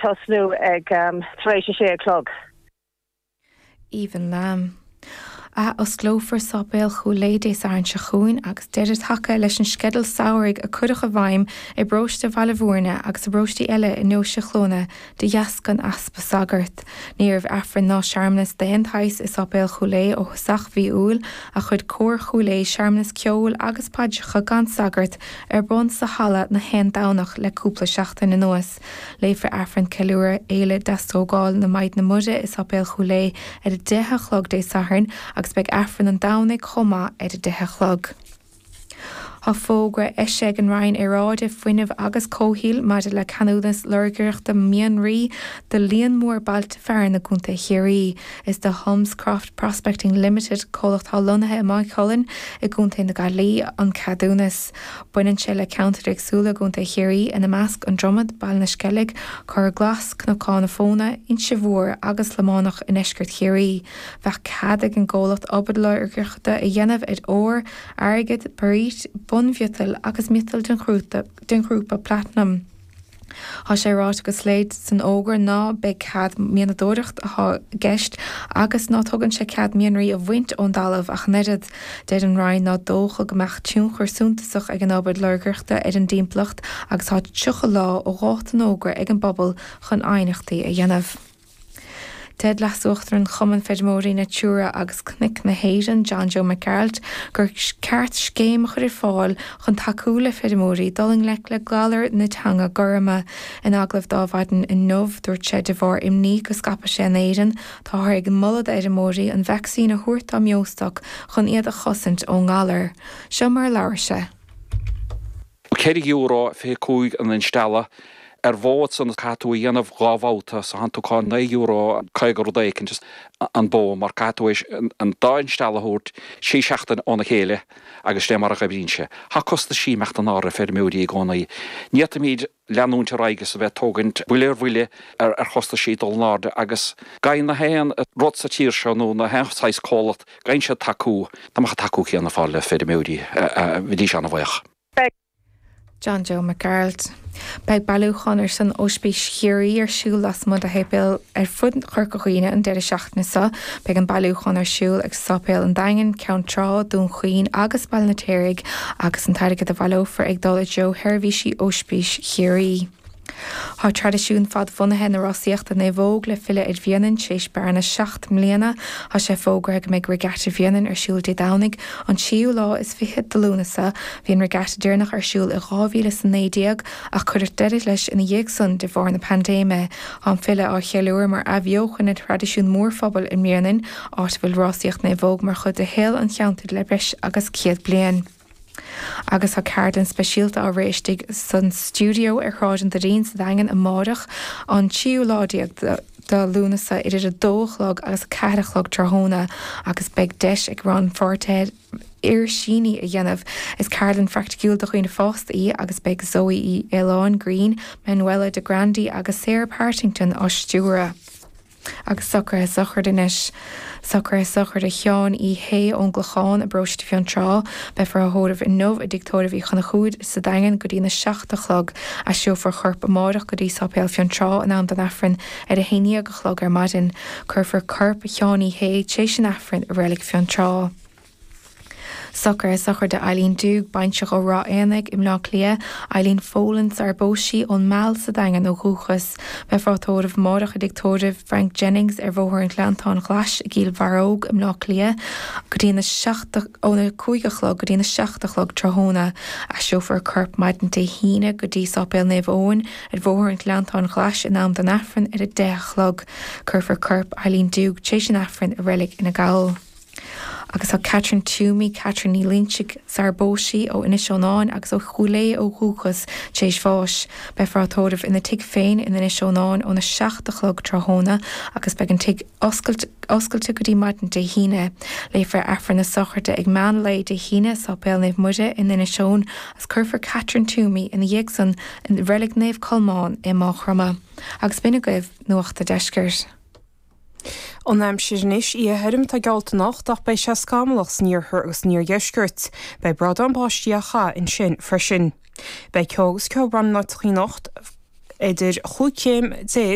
tosnú ag tar éis a sé a chlog. Aoibhinn Lamb. Ath-osclófar Sáipéal Chúil Aodha Dé Sathairn seo chugainn agus deireadh tagtha leis an sceideal samhraidh a cuireadh i bhfeidhm i bparóiste Bhaile Bhúirne agus i bparóistí eile i ndeoise Chluana de dheasca an easpa sagart. Ní raibh Aifreann ná searmanas d'aon tsaghas i Sáipéal Chúil Aodha ó thosach mhí Iúil ach chuir Cór Chúil Aodha searmanas ceoil agus paidreacha gan sagart ar bun sa halla na haon Domhnach le cúpla seachtain anuas. Léifear Aifreann Ceiliúradh Fhéile Deastógáil na Maighdine Muire i Sáipéal Chúil Aodha ar a 10 a chlog Dé Sathairn agus beidh Aifreann an Domhnaigh chomh maith ar a 10 a chlog. Tá fógra eisithe ag an Roinn Aeráide, Fuinnimh agus Comhshaoil maidir le ceadúnas lorgaireachta mianraí do líon mór bailte fearainn i gContae Chiarraí. Is do Holmescroft Prospecting Limited, comhlacht atá lonnaithe i Maigh Cuilinn i gContae na Gaillimhe, an ceadúnas. Baineann sé le ceantair éagsúla i gContae Chiarraí, ina measc, An Dromad, Baile na Sceilg, Corr Glas, Cnocán na Fóna, Inse Mhór agus Lománach i ndeisceart Chiarraí. Bheadh cead ag an gcomhlacht obair lorgaireachta a dhéanamh ar ór, airgead, bairít, bunmhiotail agus miotail den ghrúpa platanam. Tá sé ráite go soiléir san fhógra ná beidh cead mianadóireacht atá i gceist agus ná tugann sé cead mianraí a bhaint ón dtalamh ach an oiread. Deir an Roinn ná dócha go mbeadh tionchar suntasach ag an obair lorgaireachta ar an dtimpeallacht agus tá 30 lá ó dháta an fhógra ag an bpobal chun aighneachtaí a dhéanamh. Deir Leas-Uachtarán Chumann Feirmeoirí Natura agus Cnoic na hÉireann, John Joe Mac Gearailt, gur ceart scéim a chur ar fáil chun tacú le feirmeoirí dul i ngleic le galar na teanga goirme. In agallamh do Adhmhaidin inniu, dúirt sé de bharr imní go scaipfidh sé in Éirinn, táthar ag moladh d'fheirmeoirí an vacsaín a thabhairt dá mbeostoc chun iad a chosaint ón ngalar. Seo mar a labhair sé. €4 25 an instealladh ar bhó ansan caithfidh tú a dhéanamh dhá bhabhta so thánn tú ag caint €9 50 rud éicint an bó mar caithfidh tú an dá instealladh a thabhairt sé seachtain óna chéile agus sin é mar a dh'oibríonn sé. Tá costaisí ag imeacht in airde ar feirmeoirí i gcónaí. Ní fhéadfaimíd leanúint ar aghaidh is a bheith ag tógaint buille ar bhuille ar chostaisí dul in airde agus caithfidh na haon rud sa tír seo nó na haon saghas comhlacht caithfidh siad tacú, dá mbeadh an tacú céanna ar fáil le feirmeoirí bheidís an-bhuíoch. John Joe Mac Gearailt. Beidh bailiúchán ar son Ospís Chiarraí ar siúl lasmuigh de shéipéil ar fud Chorca Dhuibhne an deireadh seachtaine seo. Beidh an bailiúchán ar siúl ag Sáipéal an Daingin, Ceann Trá, Dún Chaoin agus Baile an Fheirtéaraigh agus an t-airgead a bhaileofar ag dul i dtreo sheirbhísí Ospís Chiarraí. Tá traidisiún fadbhunaithe na rásaíochta naomhóg le filleadh ar Bhriain tar éis bearna 7 mbliana. Tá sé fógraithe go mbeidh Regatta Bhréanainn ar siúl Dé Domhnaigh, an tríú lá is fiche de Lúnasa. Bhí an regatta deireanach ar siúl i 2019 ach cuireadh deireadh leis ina dhiaidh san de bharr na paindéime. Tá an filleadh á cheiliúradh mar athbheochan ar thraidisiún mór phobail i mBréanainn, áit a bhfuil rásaíocht naomhóg mar chuid de shaol an cheantair le breis agus 100 bliain. Agus tá ceardlann speisialta á rith istigh san stiúideo ar Shráid an Doirín sa Daingean amáireach, an tríú lá déag de Lúnasa, idir a dó a chlog agus a ceathair a chlog tráthnóna agus beidh deis ag rannpháirtithe uirsíní a dhéanamh. Is ceardlann phraiticiúil do dhaoine fásta í agus beidh Zoe Uí Fhaoláin Green, Manuela de Grandi agus Sarah Partington á stiúradh. Agus socruithe sochraide anois. Socruithe sochraide Sheáin Uí Shé ón gClochán i bparóiste Fionntrá. Beifear á thórramh inniu i dTigh Tórraimh Uí Chonchúir sa Daingean go dtína seacht a chlog. Aistreofar a chorp amáireach go dtí Sáipéal Fionntrá in am don Aifreann ar a haon dhéag a chlog ar maidin. Cuirfear corp Sheáin Uí Shé tar éis an Aifrinn i Reilig Fionntrá. Socruithe sochraide Eileen Doogue, baintreach ó Ráth Éanaigh i mBleá Cliath, Eileen Folan sar a bpós sí ón Meal sa Daingean ó dhúchas. Beifear á tórramh amáireach i dtigh tórraimh Frank Jennings ar Bhóthar an Ghleanntáin Ghlais i gCill Bharróg i mBleá Cliath go dtí na seacht óna 5 a chlog go dtí na 7 a chlog tráthnóna. Aistreofar a corp maidin Dé hAoine go dtí Sáipéal Naomh Eoin ar Bhóthar an Ghleanntáin Ghlais in am don Aifreann ar 10 a chlog. Cuirfear corp Eileen Doogue tar éis an Aifrinn i Reilig Fhine Gall. Agus tá Catherine Toomey, Catherine Ní Loinsigh, sar a bpós sí, ó Inis Eonáin agus ó Chúil Aodha ó dhúchas, tar éis bháis. Beifear á tórramh ina tigh féin in Inis Eonáin óna 7 a chlog tráthnóna agus beidh an tigh oscailte oscailte go dtí maidin Dé hAoine. Léifear Aifreann na sochraide ag meán lae Dé hAoine i Sáipéal Naomh Muire in Inis Eoin agus cuirfear Catherine Toomey ina dhiaidh san i Reilig Naomh Colmán i Maigh Chromtha. Agus b'in agaibh Nuacht a' Deiscirt. An aimsir anois, Oíche thirim atá geallta anocht ach beidh sé scamallach san iarthar agus san iardheisceart. Beidh bradán báistí á chaitheamh ansin freisin. Beidh ceo agus ceobhrán in áiteachaí anocht. Idir chúig chéim déag.